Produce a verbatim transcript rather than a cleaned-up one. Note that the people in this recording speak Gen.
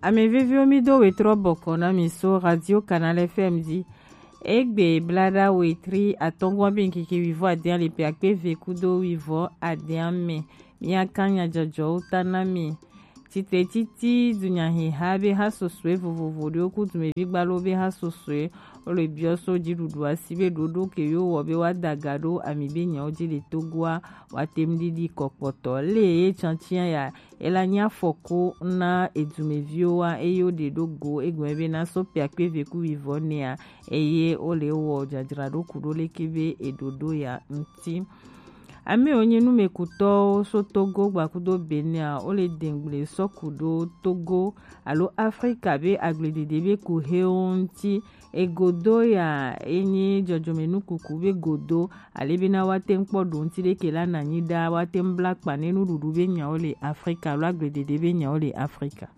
Ame veviwo, mi do wetrɔ bɔkɔ na mi so Radio Canal F M di. Egbe blada wetri atɔngɔn be ŋkeke wivɔ adean le pe akpe ve kudo wivɔ adean me. Mia kan nyajɔjɔwo ta na mi. Titre titi dunyaheha be ha sosoe vovovo ɖewo ku dumevi gbalo be ha sosoe. Wo le biɔ so dziɖuɖu asi be ɖoɖo ke yo wɔ be wa daga ɖo ami be nyawo ji le Togoa wa tem ɖiɖi kɔkpɔtɔ. Le ye tsantsian ya, ela nye afɔku na edumeviwo wa, eye wo ɖe ɖo go egɔme be na so pe akpe ve ku wivɔ nea, eye wo le wɔ dzadzraɖo ku ɖo leke be eɖoɖo ya ŋuti. Ame wo nye numekutɔwo so Togo gbakudo Benin a, wo le dengble sɔ ku ɖo Togo alo Afrika be agbledede be ku hewo ŋuti. Egodo ya enyi dzɔdzɔme nukuku be godo, ale bena wa tem kpɔ ɖo ŋuti ɖeke la na nyi ɖa, wa tem bla kpa ne nuɖuɖu be nyawo le Afrika alo agbledede be nyawo le Afrika.